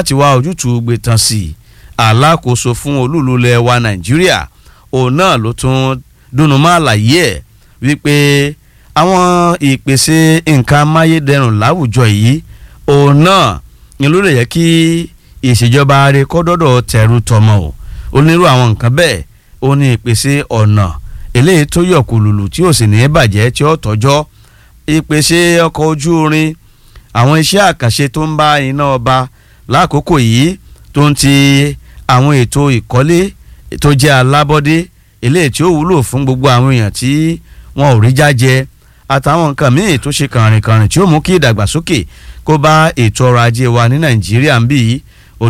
Láti wá ojútùú gbé tán sí i, alákòóso fún olúùlú ilẹ̀ wa Nàìjíríà òun náà ló tún dùnnú mọ́ àlàyé ẹ̀ wípé àwọn ìpèsè nǹkan amáyédẹrùn láwùjọ yìí òun náà ni ló lè yẹ kí ìṣèjọba rẹ̀ kọ́ dọ́dọ̀ tẹ̀rù tọmọ o. Onírú àwọn nǹkan bẹ́ẹ̀ ó ní ìpèsè ọ̀nà eléyìí tó yọ̀ kùlùlù tí ò sì ní bàjẹ́ tí ó tọ́jọ́, ìpèsè ọkọ̀ ojú irin, àwọn iṣẹ́ àkànṣe tó ń bá iná ọba lákòókò yìí, tó ń ti àwọn ètò ìkọ́lé tó jẹ́ alábọ́dé eléyìí tí ó wúlò fún gbogbo àwọn èèyàn tí wọn ò rí jájẹ, àtàwọn nǹkan míì tó ṣe kànrìnkànrìn tí ó mú kí ìdàgbàsókè kó bá ètò ọrọ̀ ajé wa ní Nàìjíríà ń bí yìí. Ó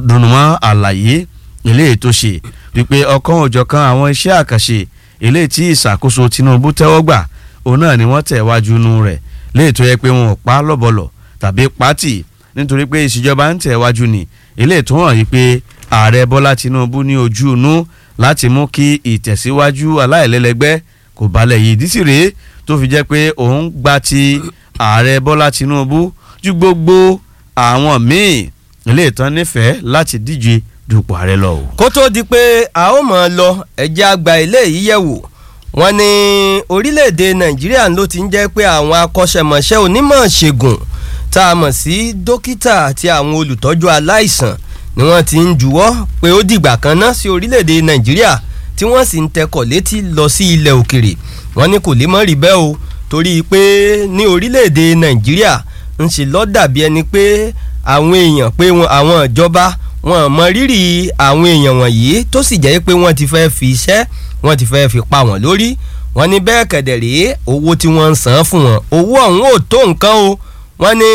dùnmọ́ àlàyé eléyìí tó ṣe wípé ọ̀kan òjọ̀kan àwọn iṣẹ́ àkànṣe eléyìí tí ìṣàkóso Tinubu tẹ́wọ́ gbà òun náà ni wọ́n tẹ̀ wájú inú rẹ̀ léyìí tó yẹ pé wọn ò pa lọ́bọ̀lọ̀ tàbí pátì, nítorí pé ìṣèjọba ń tẹ̀ wájú ni eléyìí tó hàn yìí pé ààrẹ Bọ́lá Tinubu ní ojú inú láti mú kí ìtẹ̀síwájú aláìlẹ́lẹ́gbẹ́ kò balẹ̀ yìí. Ìdí sì rèé tó fi jẹ́ pé òun gba ti ààrẹ Bọ́lá Tinubu ju gbogbo àwọn míì eléyìí tán nífẹ̀ẹ́ láti díje dupò ààrẹ lọ o. Kó tó di pé a ó mọ̀ ọ́ lọ, ẹ̀jẹ̀ àgbà ilé yìí yẹ̀ wò. Wọ́n ní orílẹ̀-èdè Nàìjíríà ló ti ń jẹ́ pé àwọn akọ́ṣẹ́mọṣẹ́ onímọ̀ ṣègùn tá a mọ̀ sí dókítà àti àwọn olùtọ́jú aláìsàn ni wọ́n ti ń juwọ́ pé ó dìgbà kan ná sí orílẹ̀-èdè Nàìjíríà, tí wọ́n sì ń tẹkọ̀ létí lọ sí ilẹ̀ òkèrè. Wọ́n ní kò lè mọ́ rí bẹ́ẹ̀ o, torí pé ní orílẹ̀-èdè Nàìjíríà ń ṣe ló dàbí ẹni pé àwọn èèyàn pé àwọn ìjọba wọn mọ rírì àwọn èèyàn wọ̀nyí, tó sì jẹ́ pé wọ́n ti fẹ́ fi iṣẹ́ wọ́n ti fẹ́ fi pa wọ́n lórí. Wọ́n ní bẹ́ẹ̀ kẹ̀dẹ̀ rèé, owó tí wọ́n ń san fún wọn, owó ọ̀hún ò tó nǹkan o. Wọ́n ní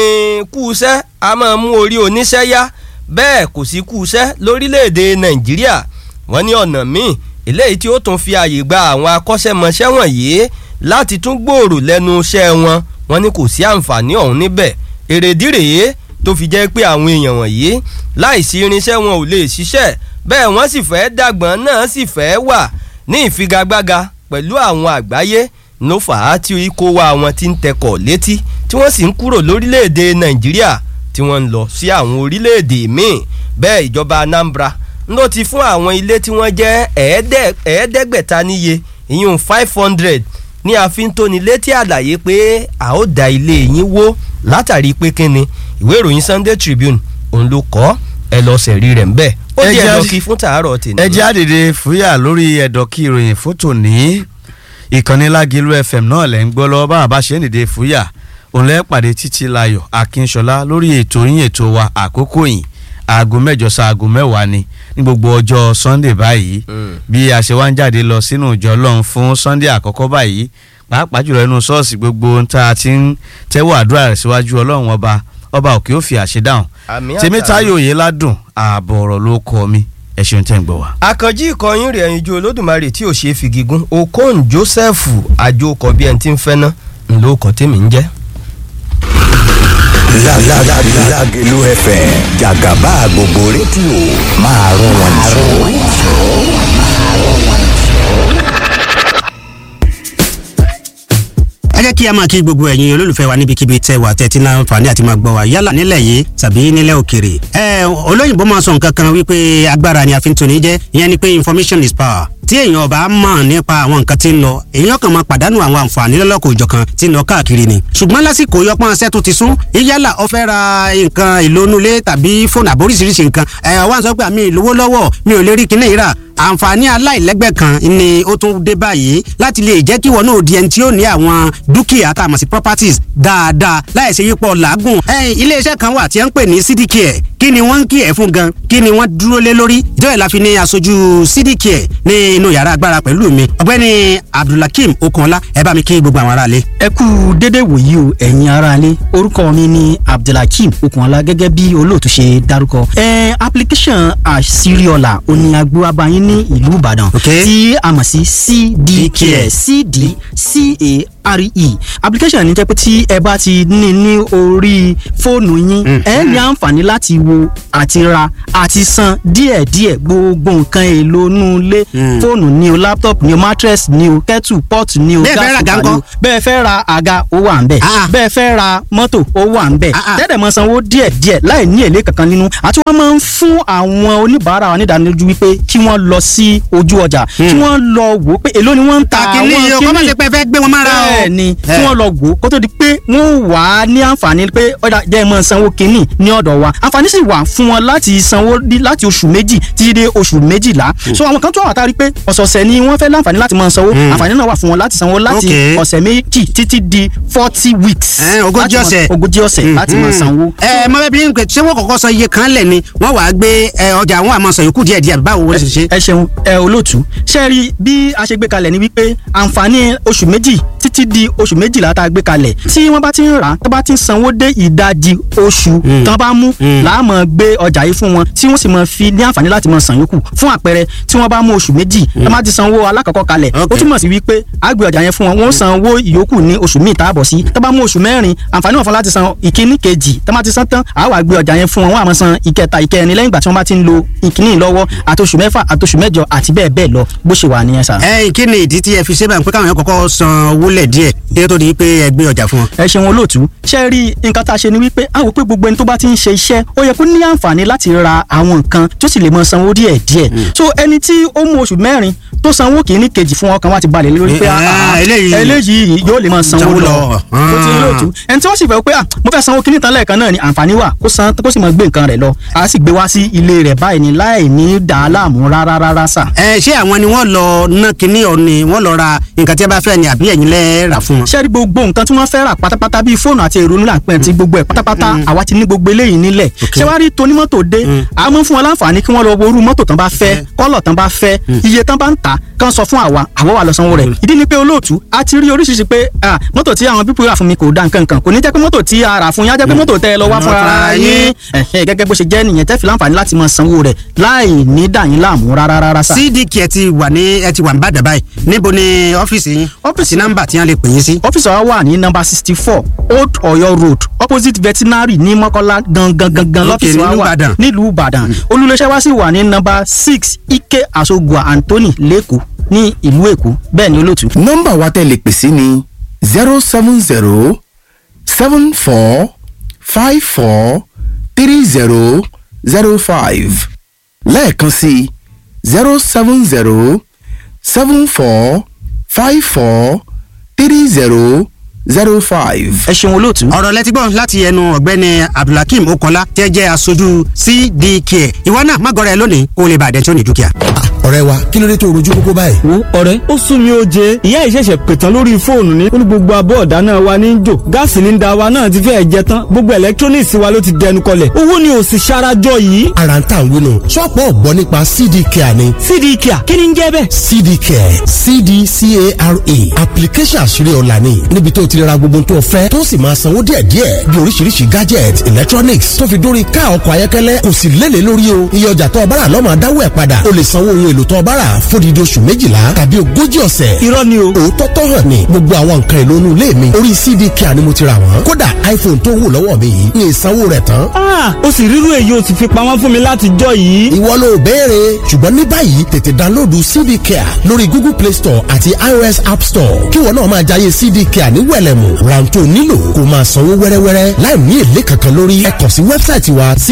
kú iṣẹ́ a máa mú orí oníṣẹ́ yá, bẹ́ẹ̀ kò sí kú iṣẹ́ lórílẹ̀‐èdè Nàìjíríà. Wọ́n ní ọ̀nà míì eléyìí tí ó tún fi àyè gba àwọn akọ́ṣẹ́mọṣẹ́ wọ̀nyí láti tún gbòòrò lẹ́nu iṣẹ́ wọn, wọ́n ní kò sí àǹfààní ọ̀hún níbẹ̀. Èrèdí rèé tó fi jẹ́ pé àwọn èèyàn wọ̀nyí láìsí irinṣẹ́ wọn ò lè ṣiṣẹ́, bẹ́ẹ̀ wọ́n sì fẹ́ dàgbọ́n náà sì fẹ́ wà ní ìfigagbága pẹ̀lú àwọn àgbáyé ló fà á tí ikó wa wọn ti ń tẹkọ̀ létí, tí wọ́n sì ń kúrò lórílẹ̀‐èdè Nàìjíríà tí wọ́n ń lọ sí àwọn orílẹ̀‐èdè míì. Bẹ́ẹ̀ ìjọba Anambra ló ti fún àwọn ilé tí wọ́n jẹ́ 500 níye, ìyún 500, ní àfintónilétí àlàyé pé a ó da ilé yín wó látàrí pé kíni. Ìwé ìròyìn Sunday Tribune òun ló kọ, ẹ lọ sẹ̀rí rẹ̀ ńbẹ̀. Ó di ẹ̀dọ̀kí fún tàárọ̀ tèmi. Ẹ jẹ́ àdìde fúyà lórí ẹ̀dọ̀kí ìròyìn fótó ní ìkànnì Lágìlú FM náà lẹ́ ń gbọ́ lọ́wọ́. Bá a bá ṣe ń dìde fúyà, òun lẹ́ pàdé Títí Láyọ̀ Akínṣọlá lórí ètò yín, ètò wa, Àkókò yìí, aago 8 sí aago 10 ni ní gbogbo ọjọ́ Sunday báyìí. Bí a ṣe wá ń jáde lọ sínú ìjọ Ọlọ́run fún Sunday àkọ́kọ́ báyìí, pàápàá jùlọ inú ṣọ́ọ̀ṣì gbogbo ń tá a ti ń tẹ́wọ́ àdúrà rẹ̀ síwájú Ọlọ́run ọba, ọba òkè ó fi àṣẹ dáhùn. Tèmítáyọ̀ Oyèládùn ààbọ̀ ọ̀rọ̀ ló kọ mi. Ẹ ṣeun tẹ́ ń gbọ́ wa. Àkànjí ìkọyín rẹ̀ ẹ̀yinjú Olódùmarè tí ò ṣe é fi gígùn, Okon Joseph àjòkọ bí ẹni tí ń fẹ́ ná ńlọkọ tèmi ń jẹ́. Lágẹ̀lú FM, jàgàbá gbogbo rédíò máa rún wọn jù. Ẹ jẹ́ kí a máa kí gbogbo ẹ̀yin olólùfẹ́ wa níbikíbi tẹ́ wà tẹ́tí náà àǹfààní àti máa gbọ́ wa, yálà nílẹ̀ yìí tàbí nílẹ̀ òkèrè. Ẹ olóyìnbó máa sọ nǹkan kan wípé agbára ni a fi ń toni jẹ́, ìyẹn ni pé information is power. Tí èèyàn ọba mọ̀ nípa àwọn nǹkan tí ń lọ, èèyàn kan máa pàdánù àwọn àǹfààní lọ́lọ́kọ̀ òjọ̀kan tí ń lọ káàkiri ni. Ṣùgbọ́n lásìkò yọpọ́n ṣẹ́ tó ti sún, yálà ó fẹ́ ra nǹkan ìlónúlé tàbí fóònù àbóríṣiríṣi nǹkan ẹ̀, wá ń sọ pé àmì ìlówó lọ́wọ́, mi ò lè rí kinní ìrà. Àǹfààní aláìlẹ́gbẹ́ kan ni ó tún dé báyìí láti lè jẹ́ kí wọn náà di ẹni tí ó ní àwọn dúkìá tá a mọ̀ sí properties dáadáa láì ṣe yípo làágùn. Iléeṣẹ́ kan wà tí wọ́n ń pè ní CDCare. Kí ni wọ́n ń kí ẹ̀ fún gan? Kí ni wọ́n dúró lé lórí? Ìjọba ìlà fi ní aṣojú CDCare ní inú yàrá agbára pẹ̀lú mi, ọ̀gbẹ́ni Abdulhakeem Okunọlá. Ẹ bá mi kí gbogbo àwọn aráalé. Ẹ kú dédé wòyí o, ẹ̀yin aráalé. Orúkọ mi ni Abdulhakeem Okunọlá, gẹ́gẹ́ bí olóòtú ṣe dárúkọ. Application àṣírí-ọ̀la òní agbó abayín ní ìlú Ìbàdàn, tí a mọ̀ sí CDCare, CDCA. Application ní jẹ́ pé tí ẹ bá ti ní ní orí fóònù yín, ẹ ní àǹfààní láti wo àti ra àti san díẹ̀díẹ̀ gbogbo nǹkan èlò inú ilé, fóònù ni o, laptop ni o, mattress ni o, kettle pot ni o, Bẹ́ẹ̀ fẹ́ ra gas àga cooker ni o. ńkọ́? Bẹ́ẹ̀ fẹ́ ra àga, ó wà ń bẹ̀. Bẹ́ẹ̀ fẹ́ ra mọ́tò, ó wà ń bẹ̀. Tẹ́lẹ̀ mọ sanwó díẹ̀díẹ̀ láì ní èlé kankan nínú. Àti wọ́n máa ń fún àwọn oníbàárà wa nídánilójú wípé kí wọ́n lọ sí ojú ọjà, kí wọ́n lọ wò ó pé èló ni wọ́n ń ta àwọn kìíní yìí o, kọ́ má ṣe pé ẹ fẹ́ gbé wọn mára o. Bẹ́ẹ̀ ni, kí wọ́n lọ wò ó kó tó di pé wọ́n wà á ní àǹfààní pé ọ̀dà jẹ́ ẹ máa sanwó kínní ní ọ̀dọ̀ wa. Àǹfààní sì wà fún wọn láti sanwó láti oṣù 2 títí dé oṣù 12. So àwọn kan tó wà tá a rí pé ọ̀sọ̀ọ̀sẹ̀ ni wọ́n fẹ́ láǹfààní láti máa sanwó, àǹfààní náà wà fún wọn láti sanwó láti ọ̀sẹ̀ 2 títí di 40 weeks. 40 Láti máa- ọ̀sẹ̀. 40 ọ̀sẹ̀ láti máa sanwó. Ẹ mọ bẹ́ẹ̀ bí n pè, ṣé wọ́n kọ́kọ́ sọ iye kan lẹ̀ ni wọ́n wàá gbé ọjà àwọn àmọ́ sọ yòókù díẹ̀ díẹ̀, báwo wọ́n ṣe ṣe? Ẹ ṣeun, ẹ olóòtú. Ṣe rí bí a ṣe gbé kalẹ̀ ni wípé àǹfààní oṣù 2 títí di oṣù 12 tá a gbé kalẹ̀, tí wọ́n bá ti ń rà á, tó bá ti ń sanwó dé ìdajì oṣù tán bá mú, làá máa gbé ọjà yìí fún wọn, tí wọ́n sì máa fi ní àǹfààní láti máa san yòókù. Fún àpẹẹrẹ, tí wọ́n bá mú oṣù 2, tó bá ti sanwó alákọ̀ọ́kọ́ kalẹ̀, ó túmọ̀ sí wípé a gbé ọjà yẹn fún wọn, wọ́n san owó ìyókù ní oṣù míì tá a bọ̀ sí. Tó bá mú oṣù 4, àǹfààní wọn fún láti san ìkíní kejì. Tó bá ti san tán, a wá gbé ọjà yẹn fún wọn, wọ́n á máa san ìkẹta, ìkẹrin lẹ́yìn ìgbà tí wọ́n bá ti ń lo ìkíní lọ́wọ́, àti oṣù 6, àti oṣù 8, àti bẹ́ẹ̀ bẹ́ẹ̀ lọ. Bó ṣe wà nìyẹn sà. Ẹ kí ni ìdí tí ẹ fi ṣe báyìí pé káwọn yẹn kọ́kọ́ san owó lẹ̀ díẹ̀ kí ó tó di pé ẹ gbé ọjà fún wọn? Ẹ ṣeun olóòtú. Ṣe rí nǹkan tá a ṣe ni wípé a wò pé gbogbo ẹni tó bá ti ń ṣe iṣẹ́, ó yẹ kó ní àǹfààní láti ra àwọn nǹkan tó sì lè mọ sanwó díẹ̀ díẹ̀. So ẹni tí ó mú oṣù 4 tó sanwó kìíní kejì fún, ọkàn wa ti balẹ̀ lórí pé Eh, eléyìí- eléyìí yóò lè mọ sanwó Sanwó lọ. lọ. Tó ti olóòtú, ẹni tí wọ́n sì fẹ́ pé ah, mo fẹ́ sanwó kìíní tán lẹ́ẹ̀kan náà ni, àǹfààní wà kó san, kó sì mọ gbé nǹkan rẹ̀ lọ. A sì gbé wá sí ilé rẹ̀ báyìí ni láì ní dàá láàmú rárá rárá sà. Ẹ ṣé àwọn ni wọ́n lọ ná kinní ọ̀ ni wọ́n lọ ra nǹkan tí ẹ bá fẹ́ ni, àbí ẹ̀yin lẹ́ rà fún wọn? Ṣé rí gbogbo nǹkan tí wọ́n fẹ́ rà pátápátá, bíi fóònù àti èrò nílà pẹ́ ti gbogbo ẹ̀ pátápátá, àwa ti ní gbogbo eléyìí nílẹ̀. Ṣé wàá rí tonímọ́tò dé, a mọ̀ fún wọn láǹfààní kí wọ́n lọ wo irú mọ́tò tán bá fẹ́, kọ́lọ̀ tán bá fẹ́, iye tán bá ń tà, kán sọ fún àwa, àwa wà lọ sanwó rẹ̀. Ìdí ni pé olóòtú, a ti rí oríṣiríṣi pé ah, mọ́tò tí àwọn pípọ̀ rà fún mi kò da nǹkan kan. Kò ní jẹ́ pé mọ́tò tí a rà fún yín á jẹ́ pé mọ́tò tẹ́ ẹ lọ wá fúnra yín. Ẹ̀hẹ́, gẹ́gẹ́ bó ṣe jẹ́ nìyẹn, tẹ́ fi láǹfààní láti máa sanwó rẹ̀ láì ní dà yín láàmú rárá rárá sà. CDK ẹ ti wà ní, ẹ ti wà ní Ìbàdàn báyìí, níbo ni ọ́fíìsì yín? Ọ́fíìsì, nọ́mbà tí wọ́n lè pè yín sí? Ọ́fíìsì wa wà ní nọ́mbà 64 Old Ọ̀yọ́ Road, opposite veterinary ní Mọ́kọ́lá gangan gangan lọ́fíìsì wa nílùú wà Ìbàdàn. nílùú Ìbàdàn. Olùléṣẹ́ wa sì wà ní nọ́mbà 6 Ike Asogua Anthony lẹ́kọ̀ọ́ ní ìlú Èkó. Bẹ́ẹ̀ ni olóòtú. Nọ́mbà wa tẹ́ lè pè sí ni 070 74 54 30 05, lẹ́ẹ̀kan sí 070 74 54 30 05. Ẹ ṣeun olóòtú. Ọ̀rọ̀ lẹ́tí gbọ́ láti ẹnu ọ̀gbẹ́ni Abdulhakeem Okola tẹ́ jẹ́ aṣojú CDK. Ìwọ náà má gọ́ra ẹ lónìí kó o lè bàdẹ́ tí ó ní dúkìá. Ọ̀rẹ́ wa, kí ló dé tó rojú kókó báyìí? Wo ọ̀rẹ́, ó sún mi ó jẹ. Ìyá ìṣẹ̀ṣẹ̀ pètàn lórí fóònù ní. Ó ní gbogbo abọ́ ọ̀dá náà wa ní í jò, gáàsì ní da wa náà ti fẹ́ẹ̀ jẹ tán, gbogbo electronics wa ló ti dẹnu kọlẹ̀, owó ni ò sì ṣarajọ yìí. Ara ń tà ń wúnu, ṣọ́ọ̀pù ọ̀gbọ́n nípa CD Care ni. CD Care, kí ni ń jẹ́ bẹ́ẹ̀? CD Care, CDCARE, application àṣírí ọ̀la ni, níbi tó ti ra gbogbo tó fẹ́, tó sì máa sanwó díẹ̀díẹ̀, bí oríṣiríṣi gadget, electronics, tó fi dórí ká ọkọ̀ ayọ́kẹ́lẹ́. Kò sì lélẹ̀ lórí o, iye ọjà tó o bá rà ló máa dáwọ́ ẹ̀ padà. O lè sanwó ohun èlò tó o bá rà fódìdí oṣù 12 tàbí 40 ọ̀sẹ̀. Irọ́ ni o. Òótọ́ tó hàn ní, gbogbo àwọn nǹkan èlò inú ilé mi, orí CD Care ni mo ti rà wọ́n. Kódà iPhone tó wù lọ́wọ́ mi yìí ní ìsanwó rẹ̀ tán. Ah, ó sì rírú èyí ó sì fi pamọ́ fún mi láti jọ yìí. Ìwọ ló béèrè, ṣùgbọ́n ní báyìí tètè download CD Care lórí Google Play Store àti iOS App Store, kí wọn náà máa jayé CD Care ní wẹ̀lẹ̀mù. Rántó nílò kó máa sanwó wẹ́rẹ́wẹ́rẹ́ láì ní èlé kankan lórí. Ẹ kàn sí wẹ́bsáìtì wa cd